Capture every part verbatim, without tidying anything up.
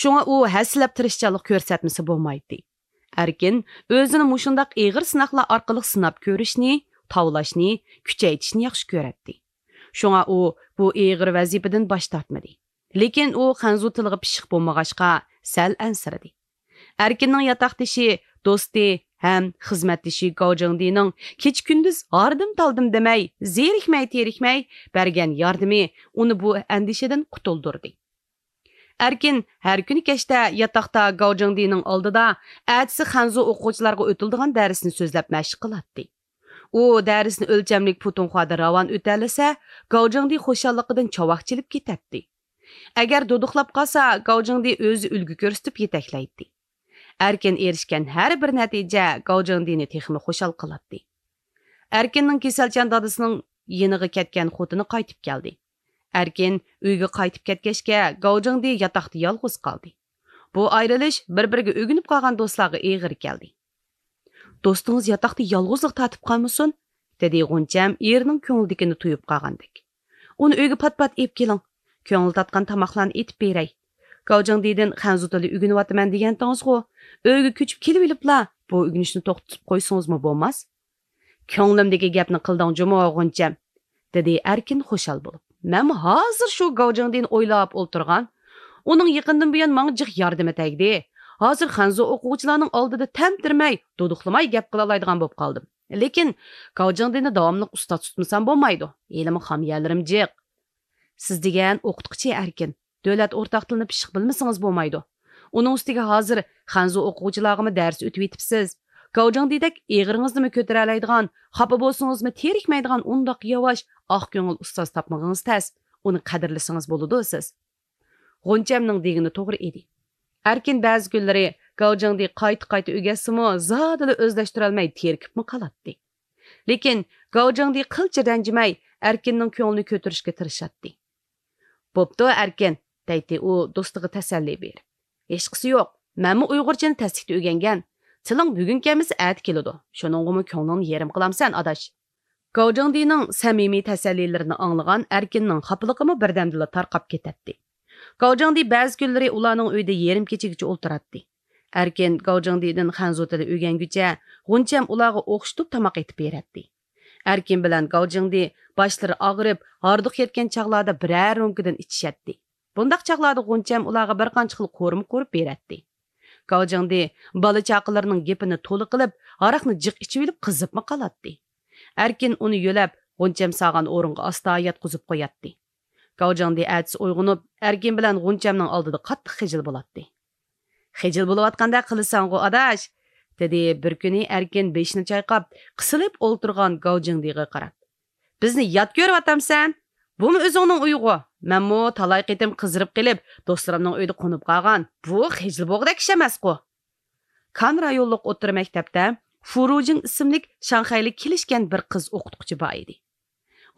شۇڭا ئۇ ھەسسىلەپ تىرىشچانلىق كۆرسەتمىسە بولمايتتى. ئەركىن ئۆزىنى مۇشۇنداق ئېغىر سىناقلار ئارقىلىق سىناپ كۆرۈشنى، تاۋلاشنى، كۈچەيتىشنى ياخشى كۆرەتتى. شۇڭا ئۇ بۇ ئېغىر ۋەزىپىدىن باش تارتمىدى. لېكىن ئۇ خەنزۇ تىلىغا پىششىق بولمىغاچقا، سەل ئەنسىرىدى. ئەركىننىڭ ياتاقدىشى، دوستى ھەم خىزمەتدىشى گاۋجىڭدىنىڭ كېچە-كۈندۈز ھاردىم-تالدىم دېمەي، زېرىكمەي-تېرىكمەي بەرگەن ياردىمى ئۇنى بۇ ئەندىشىدىن قۇتۇلدۇردى. ئەركىن ھەر كۈنى كەچتە ياتاقتا گاۋجىڭدىنىڭ ئالدىدا ئەتىسى خەنزۇ ئوقۇغۇچىلارغا ئۆتۈلىدىغان دەرسنى سۆزلەپ مەشىق قىلاتتى. ئۇ دەرسنى ئۆلچەملىك پۇتۇڭخۇادا راۋان ئۆتەلىسە، گاۋجىڭدى خۇشاللىقىدىن چاۋاك چېلىپ كېتەتتى. ئەگەر دۇدۇقلاپ قالسا، گاۋجىڭدى ئۆزى ئۈلگە كۆرسىتىپ يېتەكلەيتتى. ئەركىن ئېرىشكەن ھەر بىر نەتىجە گاۋجىڭدىنى تېخىمۇ خۇشال قىلاتتى. ئەركىننىڭ كېسەلچان دادىسىنىڭ يېنىغا كەتكەن خوتۇنى قايتىپ كەلدى. ئەركىن ئۆيگە قايتىپ كەتكەچكە، گاۋجىڭدى ياتاقتا يالغۇز قالدى. بۇ ئايرىلىش بىر-بىرىگە ئۆگىنىپ قالغان دوستلارغا ئېغىر كەلدى. «دوستىڭىز ياتاقتا يالغۇزلۇق تارتىپ قالمىسۇن؟» دېدى غۇنچەم ئېرىنىڭ كۆڭلىدىكىنى تۇيۇپ قالغاندەك. «ئۇنى ئۆيگە پات-پات ئېلىپ كېلىڭ. كۆڭلى تارتقان تاماقلارنى ئېتىپ بېرەي. گاۋجىڭدىدىن خەنزۇ تىلى ئۆگىنىۋاتىمەن دېگەنتىڭىزغۇ؟ ئۆيگە كۆچۈپ كېلىۋېلىپلا بۇ ئۆگىنىشنى توختىتىپ قويسىڭىزمۇ بولماس؟» «كۆڭلۈمدىكى گەپنى قىلدىڭ جۇمۇ، غۇنچەم!» دېدى ئەركىن خۇشال بولۇپ. «مەنمۇ ھازىر شۇ گاۋجىڭدىنى ئويلاپ ئولتۇرغان. ئۇنىڭ يېقىندىن بۇيان ماڭا جىق ياردىمى تەگدى. ھازىر خەنزۇ ئوقۇغۇچىلارنىڭ ئالدىدا تەمتىرىمەي، دۇدۇقلىماي گەپ قىلالايدىغان بولۇپ قالدىم. لېكىن گاۋجىڭدىنى داۋاملىق ئۇستاز تۇتمىسام بولمايدۇ. ھېلىمۇ خام يەرلىرىم جىق.» «سىز دېگەن ئوقۇتقۇچى ئەركىن. دۆلەت ئورتاق تىلىنى پىششىق بىلمىسىڭىز بولمايدۇ. ئۇنىڭ ئۈستىگە ھازىر خەنزۇ ئوقۇغۇچىلارغىمۇ دەرس ئۆتۈۋېتىپسىز. گاۋجىڭدىدەك ئېغىرىڭىزنىمۇ كۆتۈرەلەيدىغان، خاپا بولسىڭىزمۇ تېرىكمەيدىغان ئۇنداق ياۋاش، ئاق كۆڭۈل ئۇستاز تاپمىغىڭىز تەس. ئۇنى قەدىرلىسىڭىز بولىدۇ سىز.» غۇنچەمنىڭ دېگىنى توغرا ئىدى. ئەركىن بەزى كۈنلىرى گاۋجىڭدى قايتا-قايتا ئۆگەتسىمۇ، زادىلا ئۆزلەشتۈرەلمەي تېرىكىپمۇ قالاتتى. لېكىن گاۋجىڭدى قىلچە رەنجىمەي، ئەركىننىڭ كۆڭلىنى كۆتۈرۈشكە تىرىشاتتى. «بوپتۇ، ئەركىن» دەيتتى ئۇ دوستىغا تەسەللى بېرىپ. «ھېچقىسى يوق، مەنمۇ ئۇيغۇرچىنى تەسلىكتە ئۆگەنگەن. تىلىڭ بۈگۈن كەلمىسە ئەتە كېلىدۇ. شۇنىڭغىمۇ كۆڭلۈڭنى يېرىم قىلامسەن، ئاداش؟» گاۋجىڭدىنىڭ سەمىمىي تەسەللىلىرىنى ئاڭلىغان ئەركىننىڭ خاپىلىقىمۇ بىردەمدىلا تارقاپ كېتەتتى. گاۋجىڭدى بەزى كۈنلىرى ئۇلارنىڭ ئۆيىدە يېرىم كېچىگىچە ئولتۇراتتى. ئەركىن گاۋجىڭدىدىن خەنزۇ تىلى ئۆگەنگۈچە، غۇنچەم ئۇلارغا ئوخشىتىپ تاماق ئېتىپ بېرەتتى. ئەركىن بىلەن گاۋجىڭدى باشلىرى ئاغرىپ، ھاردۇق يەتكەن چاغلاردا بىرەر رومكىدىن ئىچىشەتتى. بۇنداق چاغلاردا غۇنچەم ئۇلارغا بىر قانچە خىل قورۇما قورۇپ بېرەتتى. گاۋجىڭدى بالا-چاقىلىرىنىڭ گېپىنى تولا قىلىپ، ھاراقنى جىق ئىچىۋېلىپ قىزىپمۇ قالاتتى. ئەركىن ئۇنى يۆلەپ، غۇنچەم سالغان ئورۇنغا ئاستا ياتقۇزۇپ قوياتتى. گاۋجىڭدى ئەتىسى ئويغىنىپ، ئەركىن بىلەن غۇنچەمنىڭ ئالدىدا قاتتىق خىجىل بولاتتى. «خىجىل بولۇۋاتقاندەك قىلىسەنغۇ، ئاداش!» دېدى بىر كۈنى ئەركىن بېشىنى چايقاپ، قىسىلىپ ئولتۇرغان گاۋجىڭدىغا قاراپ. «بىزنى يات كۆرۈۋاتامسەن؟ بۇمۇ ئۆزۈڭنىڭ ئۆيىغۇ. مەنمۇ تالاي قېتىم قىزىرىپ قېلىپ، دوستلىرىمنىڭ ئۆيىدە قونۇپ قالغان. بۇ خىجىل بولغۇدەك ئىش ئەمەسقۇ.» كان رايونلۇق ئوتتۇرا مەكتەپتە فۇرۇجىڭ ئىسىملىك شاڭخەيلىك كېلىشكەن بىر قىز ئوقۇتقۇچى بار ئىدى.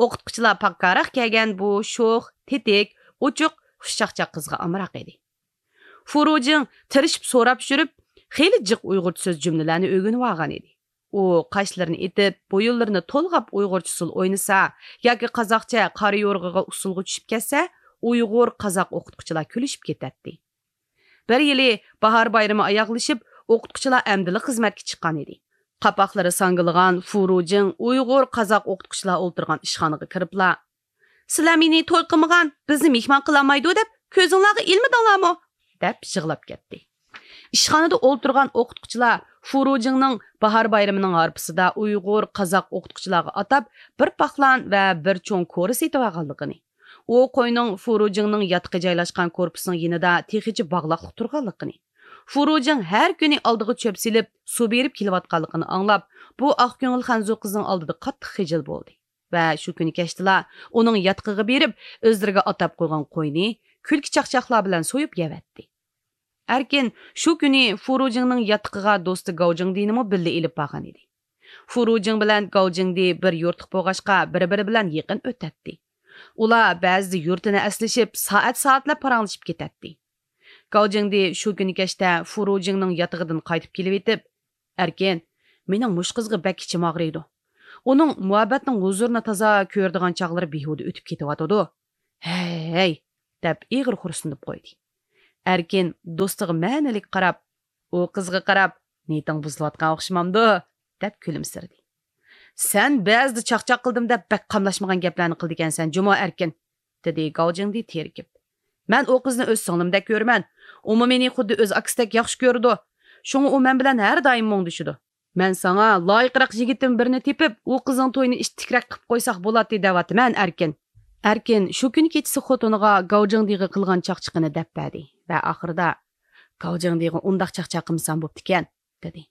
ئوقۇتقۇچىلار پاككاراق كەلگەن بۇ شوخ، تېتىك، ئوچۇق، خۇشچاقچاق قىزغا ئامراق ئىدى. فۇرۇجىڭ تىرىشىپ سوراپ يۈرۈپ، خېلى جىق ئۇيغۇرچە سۆز جۈملىلەرنى ئۆگىنىۋالغان ئىدى. ئۇ قاشلىرىنى ئېتىپ، بويۇنلىرىنى تولغاپ ئۇيغۇرچە ئۇسسۇل ئوينىسا ياكى قازاقچە قارا يورغىغا ئۇسسۇلغا چۈشۈپ كەتسە، ئۇيغۇر، قازاق ئوقۇتقۇچىلار كۈلۈشۈپ كېتەتتى. بىر يىلى باھار بايرىمى ئاياغلىشىپ، ئوقۇتقۇچىلار ئەمدىلا خىزمەتكە چىققان ئىدى. قاپاقلىرى ساڭگىلىغان فۇرۇجىڭ ئۇيغۇر، قازاق ئوقۇتقۇچىلار ئولتۇرغان ئىشخانىغا كىرىپلا، «سىلەر مېنى توي قىلمىغان، بىزنى مېھمان قىلالمايدۇ دەپ كۆزۈڭلارغا ئىلمىدىڭلارمۇ؟» دەپ يىغلاپ كەتتى. ئىشخانىدا ئولتۇرغان ئوقۇتقۇچىلار فۇرۇجىڭنىڭ باھار بايرىمىنىڭ ھارپىسىدا ئۇيغۇر، قازاق ئوقۇتقۇچىلارغا ئاتاپ بىر پاقلان ۋە بىر چوڭ كورا سېتىۋالغانلىقىنى، ئۇ قوينىڭ فۇرۇجىڭنىڭ ياتىقى جايلاشقان كورپۇسنىڭ يېنىدا تېخىچە باغلاقلىق تۇرغانلىقىنى، فۇرۇجىڭ ھەر كۈنى ئالدىغا چۆپ سېلىپ، سۇ بېرىپ كېلىۋاتقانلىقىنى ئاڭلاپ، بۇ ئاق كۆڭۈل خەنزۇ قىزنىڭ ئالدىدا قاتتىق خىجىل بولدى ۋە شۇ كۈنى كەچتىلا ئۇنىڭ ياتىقىغا بېرىپ، ئۆزلىرىگە ئاتاپ قويغان قوينى كۈلكە-چاقچاقلار بىلەن سويۇپ يەۋەتتى. ئەركىن شۇ كۈنى فۇرۇجىڭنىڭ ياتىقىغا دوستى گاۋجىڭدىنىمۇ بىللە ئېلىپ بارغان ئىدى. فۇرۇجىڭ بىلەن گاۋجىڭدى بىر يۇرتلۇق بولغاچقا، بىر-بىرى بىلەن يېقىن ئۆتەتتى. ئۇلار بەزىدە يۇرتىنى ئەسلىشىپ، سائەت-سائەتلەپ پاراڭلىشىپ كېتەتتى. گاۋجىڭدى شۇ كۈنى كەچتە فۇرۇجىڭنىڭ ياتىقىدىن قايتىپ كېلىۋېتىپ، «ئەركىن، مېنىڭ مۇشۇ قىزغا بەك ئىچىم ئاغرىيدۇ. ئۇنىڭ مۇھەببەتنىڭ ھۇزۇرىنى تازا كۆرىدىغان چاغلىرى بىھۇدە ئۆتۈپ كېتىۋاتىدۇ. ھەي، ھەي!» دەپ ئېغىر خورسىنىپ قويدى. ئەركىن دوستىغا مەنىلىك قاراپ، ئۇ قىزغا قاراپ، نىيىتىڭ بۇزۇلۇۋاتقان ئوخشىمامدۇ؟ دەپ كۈلۈمسىرىدى. سەن بەزىدە چاقچاق قىلدىم دەپ بەك قاملاشمىغان گەپلەرنى قىلىدىكەنسەن جۇمۇ ئەركىن، دېدى گاۋجىڭدى تېرىكىپ. مەن ئۇ قىزنى ئۆز سىڭلىمدەك كۆرىمەن. ئۇمۇ مېنى خۇددى ئۆز ئاكىسىدەك ياخشى كۆرىدۇ. شۇڭا ئۇ مەن بىلەن ھەر دائىم مۇڭدىشىدۇ. مەن ساڭا لايىقراق يىگىتتىن بىرنى تېپىپ، ئۇ قىزنىڭ تويىنى ئىتتىكرەك قىلىپ قويساق بولاتتى دەۋاتىمەن، ئەركىن. ئەركىن شۇ كۈنى كېچىسى خوتۇنىغا گاۋجىڭدىغا قىلغان چاقچىقىنى دەپ بەردى ۋە ئاخىرىدا، گاۋجىڭدىغا ئۇنداق چاقچاق قىلمىسام بوپتىكەن، دېدى.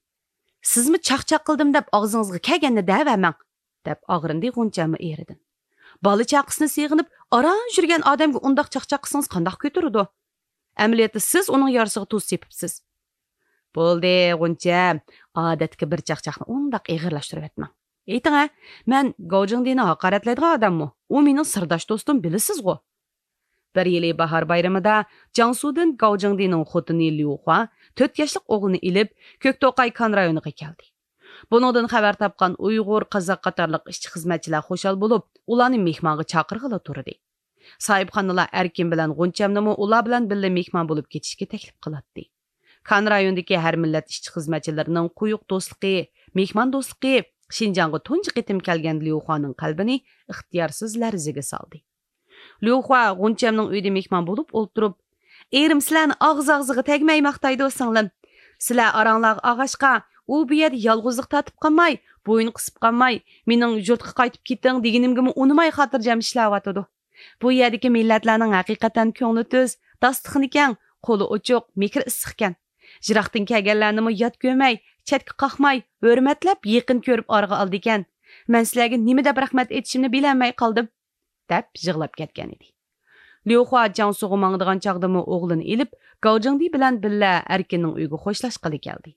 سىزمۇ چاقچاق قىلدىم دەپ ئاغزىڭىزغا كەلگەننى دەۋەرمەڭ، دەپ ئاغرىندى غۇنچەممۇ ئېرىدىن. بالا چاقىسىنى سېغىنىپ ئاران يۈرگەن ئادەمگە ئۇنداق چاقچاق قىلسىڭىز قانداق كۆتۈرىدۇ؟ ئەمەلىيەتتە سىز ئۇنىڭ يارىسىغا تۇز سېپىپسىز. بولدى، غۇنچەم، ئادەتتىكى بىر چاقچاقنى ئۇنداق ئېغىرلاشتۇرۇۋەتمەڭ. ئېيتىڭە، مەن گاۋجىڭدىنى ھاقارەتلەيدىغان ئادەممۇ؟ ئۇ مېنىڭ سىرداش دوستۇم، بىلىسىزغۇ. بىر يىلى باھار بايرىمىدا جياڭسۇدىن گاۋجىڭدىنىڭ خوتۇنى ليۇخۇا تۆت ياشلىق ئوغلىنى ئېلىپ، كۆكتوقاي كان رايونىغا كەلدى. بۇنىڭدىن خەۋەر تاپقان ئۇيغۇر، قازاق قاتارلىق ئىشچى-خىزمەتچىلەر خۇشال بولۇپ، ئۇلارنى مېھمانغا چاقىرغىلى تۇردى. ساھىبخانىلار ئەركىن بىلەن غۇنچەمنىمۇ ئۇلار بىلەن بىللە مېھمان بولۇپ كېتىشكە تەكلىپ قىلاتتى. كان رايونىدىكى ھەر مىللەت ئىشچى-خىزمەتچىلىرىنىڭ قويۇق دوستلۇقى، مېھمان دوستلۇقى شىنجاڭغا تۇنجى قېتىم كەلگەن ليۇخۇانىڭ قەلبىنى ئىختىيارسىز لەرزىگە سالدى. ليۇخۇا غۇنچەمنىڭ ئۆيىدە مېھمان بولۇپ ئولتۇرۇپ، «ئېرىم سىلەرنى ئاغزى-ئاغزىغا تەگمەي ماختايدۇ، سىڭلىم. سىلەر ئاراڭلارغا ئاغاچقا، ئۇ بۇ يەردە يالغۇزلۇق تارتىپ قالماي، بويۇن قىسىپ قالماي، مېنىڭ يۇرتقا قايتىپ كېتىڭ دېگىنىمگىمۇ ئۇنىماي خاتىرجەم ئىشلەۋاتىدۇ. بۇ يەردىكى مىللەتلەرنىڭ ھەقىقەتەن كۆڭلى تۈز، داستىخىنى كەڭ، قولى ئوچۇق، مېھرى ئىسسىقكەن. يىراقتىن كەلگەنلەرنىمۇ يات كۆرمەي، چەتكە قاقماي، ھۆرمەتلەپ يېقىن كۆرۈپ ئارىغا ئالىدىكەن. مەن سىلەرگە نېمە دەپ رەھمەت ئېيتىشىمنى بىلەلمەي قالدىم.» دەپ يىغلاپ كەتكەنىدى. ليۇخۇا جياڭسۇغا ماڭىدىغان چاغدىمۇ ئوغلىنى ئېلىپ، گاۋجىڭدى بىلەن بىللە ئەركىننىڭ ئۆيىگە خوشلاشقىلى كەلدى.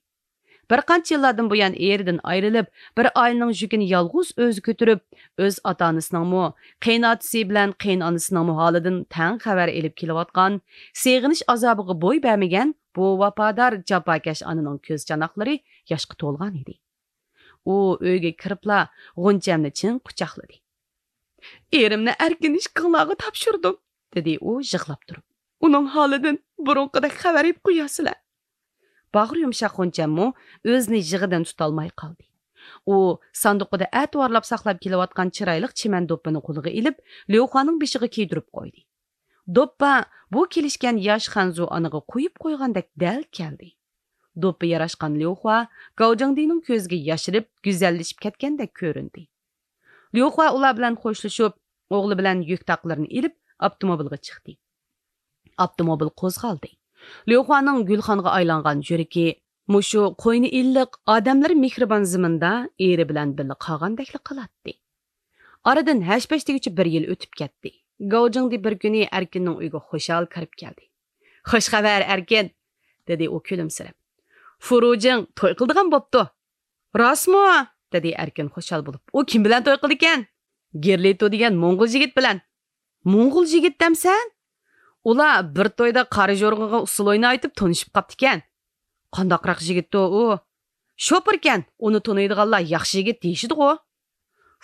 بىر قانچە يىللاردىن بۇيان ئېرىدىن ئايرىلىپ، بىر ئائىلىنىڭ يۈكىنى يالغۇز ئۆزى كۆتۈرۈپ، ئۆز ئاتا-ئانىسىنىڭمۇ، قېيىنئاتىسى بىلەن قېيىنئانىسىنىڭمۇ ھالىدىن تەڭ خەۋەر ئېلىپ كېلىۋاتقان، سېغىنىش ئازابىغا بوي بەرمىگەن بۇ ۋاپادار، جاپاكەش ئانىنىڭ كۆز چاناقلىرى ياشقا تولغان ئىدى. ئۇ ئۆيگە كىرىپلا غۇنچەمنى چىڭ قۇچاقلىدى. «ئېرىمنى ئەركىن ئىككىڭلارغا تاپشۇردۇم،» دېدى ئۇ يىغلاپ تۇرۇپ. «ئۇنىڭ ھالىدىن بۇرۇنقىدەك خەۋەر ئېلىپ قويارسىلەر.» باغرى يۇمشاق غۇنچەممۇ ئۆزىنى يىغىدىن تۇتالماي قالدى. ئۇ ساندۇقىدا ئەتىۋارلاپ ساقلاپ كېلىۋاتقان چىرايلىق چىمەن دوپپىنى قولىغا ئېلىپ، ليۇخۇانىڭ بېشىغا كىيدۈرۈپ قويدى. دوپپا بۇ كېلىشكەن ياش خەنزۇ ئانىغا قويۇپ قويغاندەك دەل كەلدى. دوپپا ياراشقان ليۇخۇا گاۋجىڭدىنىڭ كۆزىگە ياشىرىپ، گۈزەللىشىپ كەتكەندەك كۆرۈندى. ليۇخۇا ئۇلار بىلەن خوشلىشىپ، ئوغلى بىلەن يۈك تاقلىرىنى ئېلىپ، ئاپتوموبىلغا چىقتى. ئاپتوموبىل قوزغالدى. ليۇخۇانىڭ گۈلخانغا ئايلانغان يۈرىكى مۇشۇ قوينى ئىللىق، ئادەملىرى مېھرىبان زېمىندا ئېرى بىلەن بىللە قالغاندەكلا قىلاتتى. ئارىدىن ھەش-پەش دېگۈچە بىر يىل ئۆتۈپ كەتتى. گاۋجىڭدى بىر كۈنى ئەركىننىڭ ئۆيىگە خۇشال كىرىپ كەلدى. «خوش خەۋەر، ئەركىن!» دېدى ئۇ كۈلۈمسىرەپ. «فۇرۇجىڭ توي قىلىدىغان بوپتۇ.» «راستمۇ؟» دېدى ئەركىن خۇشال بولۇپ. «ئۇ كىم بىلەن توي قىلىدىكەن؟» «گېرلىتو دېگەن موڭغۇل يىگىت بىلەن.» «موڭغۇل يىگىت دەمسەن؟ ئۇلار بىر تويدا قارا جورغىغا ئۇسسۇل ئوينايتىپ تونۇشۇپ قاپتىكەن.» «قانداقراق يىگىتتۇ ئۇ؟» «شوپۇركەن، ئۇنى تونۇيدىغانلار ياخشى يىگىت دېيىشىدىغۇ.»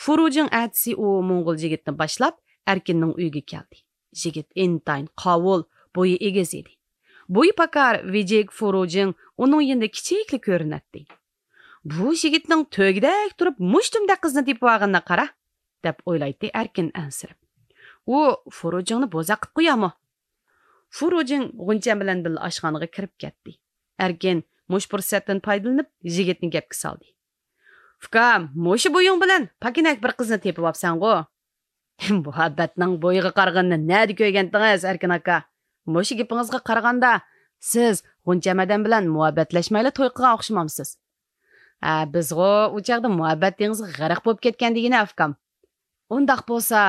فۇرۇجىڭ ئەتىسى ئۇ موڭغۇل يىگىتنى باشلاپ ئەركىننىڭ ئۆيىگە كەلدى. يىگىت ئىنتايىن قاۋۇل، بويى ئېگىز ئىدى. بويى پاكار، ۋىجىك فۇرۇجىڭ ئۇنىڭ يېنىدا كىچىكلا كۆرۈنەتتى. «بۇ يىگىتنىڭ تۆگىدەك تۇرۇپ مۇشتۇمدەك قىزنى تېپىۋالغىنىغا قارا!» دەپ ئويلايتتى ئەركىن ئەنسىرەپ. «ئۇ فۇرۇجىڭنى بوزەك قىلىپ قويارمۇ؟» فۇرۇجىڭ غۇنچەم بىلەن بىللە ئاشخانىغا كىرىپ كەتتى. ئەركىن مۇشۇ پۇرسەتتىن پايدىلىنىپ يىگىتنى گەپكە سالدى. «ئۇكام، مۇشۇ بويۇڭ بىلەن پاكىنەك بىر قىزنى تېپىۋاپسەنغۇ.» «مۇھەببەتنىڭ بويىغا قارىغىنىنى نەدە كۆرگەنتىڭىز، ئەركىن ئاكا؟ مۇشۇ گېپىڭىزگە قارىغاندا، سىز غۇنچەم ئادەم بىلەن مۇھەببەتلەشمەيلا توي قىلغان ئوخشىمامسىز؟» «ھە، بىزغۇ ئۇ چاغدا مۇھەببەت دېڭىزىغا غەرق بولۇپ كەتكەن دېگىنە، ئۇكام.» «ئۇنداق بولسا،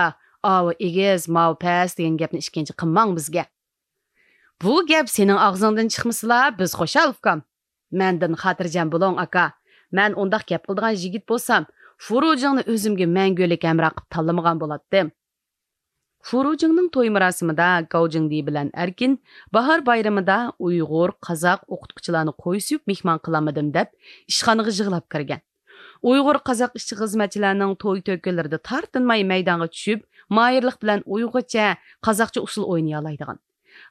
ئاۋۇ ئېگىز، ماۋۇ پەس دېگەن گەپنى ئىككىنچى قىلماڭ بىزگە.» «بۇ گەپ سېنىڭ ئاغزىڭدىن چىقمىسىلا، بىز خۇشال، ئۇكام.» «مەندىن خاتىرجەم بولۇڭ، ئاكا. مەن ئۇنداق گەپ قىلىدىغان يىگىت بولسام، فۇرۇجىڭنى ئۆزۈمگە مەڭگۈلۈك ھەمراھ قىلىپ تاللىمىغان بولاتتىم.» فۇرۇجىڭنىڭ توي مۇراسىمىدا گاۋجىڭدى بىلەن ئەركىن باھار بايرىمىدا ئۇيغۇر، قازاق ئوقۇتقۇچىلارنى قوي سويۇپ مېھمان قىلالمىدىم دەپ ئىشخانىغا يىغلاپ كىرگەن. ئۇيغۇر، قازاق ئىشچى-خىزمەتچىلەرنىڭ توي تۆكۈنلىرىدە تارتىنماي مەيدانغا چۈشۈپ، ماھىرلىق بىلەن ئۇيغۇرچە، قازاقچە ئۇسسۇل ئوينىيالايدىغان.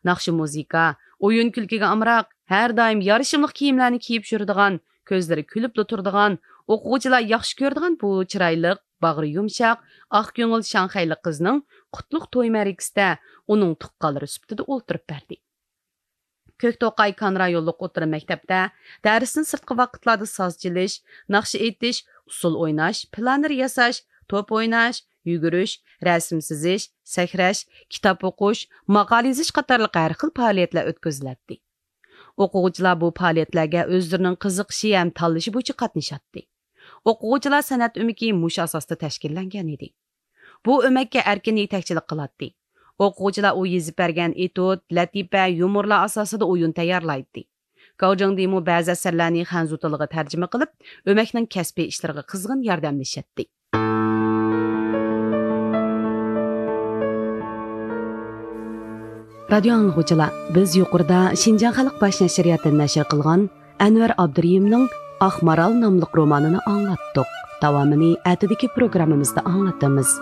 ناخشا-مۇزىكا، ئويۇن-كۈلكىگە ئامراق، ھەر دائىم يارىشىملىق كىيىملەرنى كىيىپ يۈرىدىغان، كۆزلىرى كۈلۈپلا تۇرىدىغان، ئوقۇغۇچىلار ياخشى كۆرىدىغان بۇ چىرايلىق، باغرى يۇمشاق، ئاق كۆڭۈل شاڭخەيلىك قىزنىڭ قۇتلۇق توي مەرىكىسىدە ئۇنىڭ تۇغقانلىرى سۈپىتىدە ئولتۇرۇپ بەردى. كۆكتوقاي كان رايونلۇق ئوتتۇرا مەكتەپتە دەرستىن سىرتقى ۋاقىتلاردا ساز چېلىش، ناخشا ئېيتىش، ئۇسسۇل ئويناش، پىلانېر ياساش، توپ ئويناش، يۈگۈرۈش، رەسىم سىزىش، سەكرەش، كىتاب ئوقۇش، ماقالە يېزىش قاتارلىق ھەر خىل پائالىيەتلەر ئۆتكۈزۈلەتتى. ئوقۇغۇچىلار بۇ پائالىيەتلەرگە ئۆزلىرىنىڭ قىزىقىشى ھەم تاللىشى بويىچە قاتنىشاتتى. ئوقۇغۇچىلار سەنئەت ئۆمىكى مۇشۇ ئاساستا تەشكىللەنگەن ئىدى. بۇ ئۆمەككە ئەركىن يېتەكچىلىك قىلاتتى. ئوقۇغۇچىلار ئۇ يېزىپ بەرگەن ئېتۇت، لەتىپە، يۇمۇرلار ئاساسىدا ئويۇن تەييارلايتتى. گاۋ جىڭدىمۇ بەزى ئەسەرلەرنى خەنزۇ تىلىغا تەرجىمە قىلىپ، ئۆمەكنىڭ كەسپىي ئىشلىرىغا قىزغىن ياردەملىشەتتى. رادىيو ئاڭلىغۇچىلار، بىز يۇقىرىدا شىنجاڭ خەلق باش نەشرىياتىدىن نەشر قىلغان ئەنۋەر ئابدۇرېھىمنىڭ ئاق مارال ناملىق رومانىنى ئاڭلاتتۇق. داۋامىنى ئەتىدىكى پروگراممىمىزدا ئاڭلىتىمىز.